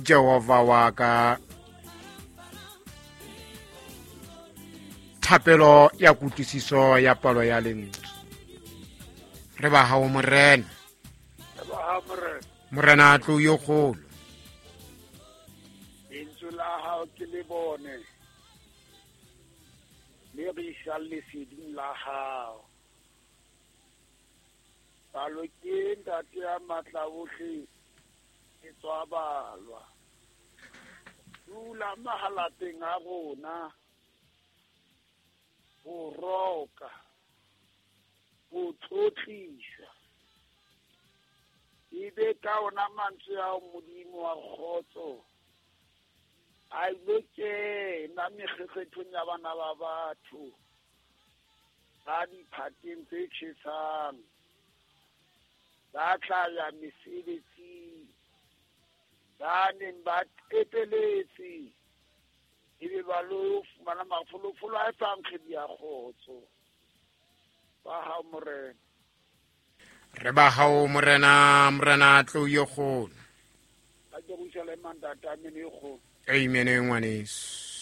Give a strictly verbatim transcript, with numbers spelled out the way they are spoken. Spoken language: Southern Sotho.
Jehova wa ka. Thapelo ya kutlwisiso ya palo ya lentswe. Re ba hao Morena. Re ba hao Morena. Morena tlo yo kgolo. Lentswe la hao ke le bone. Le re isa leseding la hao. Palo ke ntate ya matla ohle e tswa balwa. Dula mahalateng a rona. Ho roka, ho tlotlisa. Ebe ka ona mantswe ao Modimo wa kgotso a ilo kena mekgekgethong ya bana ba batho ba diphateng tse tjhesang, ba tla ya mesebetsing, ba neng ba tepeletse, ebe ba lo fumana mafolofolo a etsang kgwedi ya kgotso. Ba hao Morena. Re ba hao Morena, Morena tlo yo kgolo. Ka Jerusalema ntate, amen e kgolo. Amen ngwaneso.